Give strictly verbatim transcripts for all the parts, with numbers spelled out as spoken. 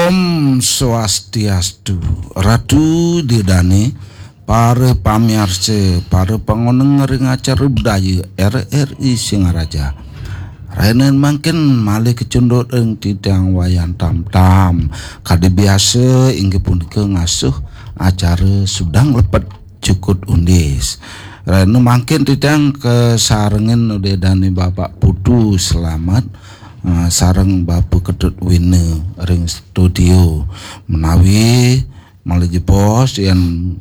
Om Swastiastu, Ratu Ida Dane, para pamiarsa, para pangoneng ring acara budaya R R I Singaraja. Rahinané mangkin malih kacunduk ring titiang Wayan Tamtam. Kadi biasa inggih punika ngasuh acara Sudang Lepet Jukut Undis. Rahinané mangkin titiang kasarengin Ida Dane Bapak Putu Slamet, eh, sareng Bapak Ketut Wina ring studio, menawi malih jebos yen,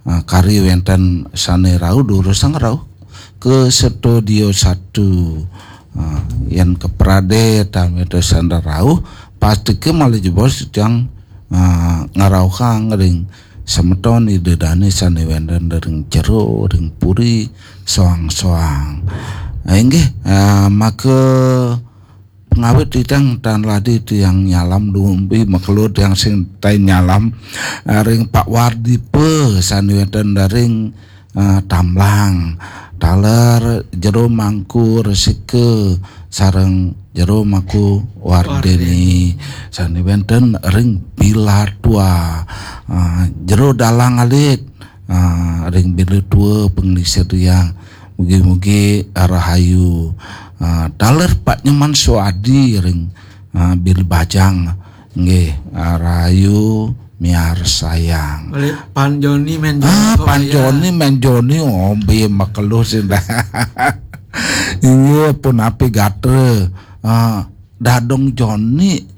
eh, kari wenten sane rauh, durusang rauh ke studio satu. Eh, yen kaprade tameta sane rauh, pastika malih jebos titiang, eh, ngrauhang ring semeton Ida Dane sane wenten ring jero, ring puri, soang-soang. Eh, inggih, eh, maka pangawit titiang tan ladi tiang nyalam dumpi makelo tiang sing tai nyalam, eh, ring Pak Wardipa sane wenten ring, eh, Tamlang, taler Jero Mangku Resika sareng Jero Mangku Wardeni sane wenten ring Bilatua, eh, Jero Dalang Alit, eh, ring Bilatua Penglisir Riang. Mugi-mugi rahayu. Ah, taler Pak Nyoman Suadi ring, ah, Bilih Bajang. Nggih, ah, rahayu miarsayang. Malih Pan Joni Men Joni. Ah, Pan Joni Men Joni, ombe makelo sing dah. Inggih punapi gatra. Ah, Dadong Joni.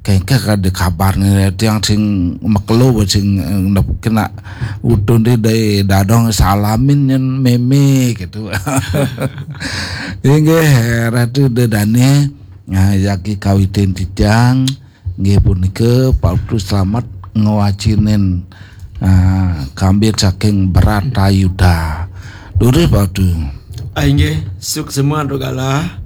Kengkeh kada kabar nih tiang sing makelo sing, eh, kena utun di dai dadong salamin nyen meme gitu. Inggih, Ratu Ida Dane, nah, jagi kawitin titiang, nggih punika Pak Putu Slamet ngwacinin, ah, kambit saking Bratayuda. Durus Pak Putu. Ah, inggih, suksema antuk galah.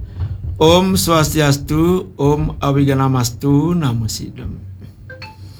Om Swastiastu, Om Awignamastu, Namo Sidam.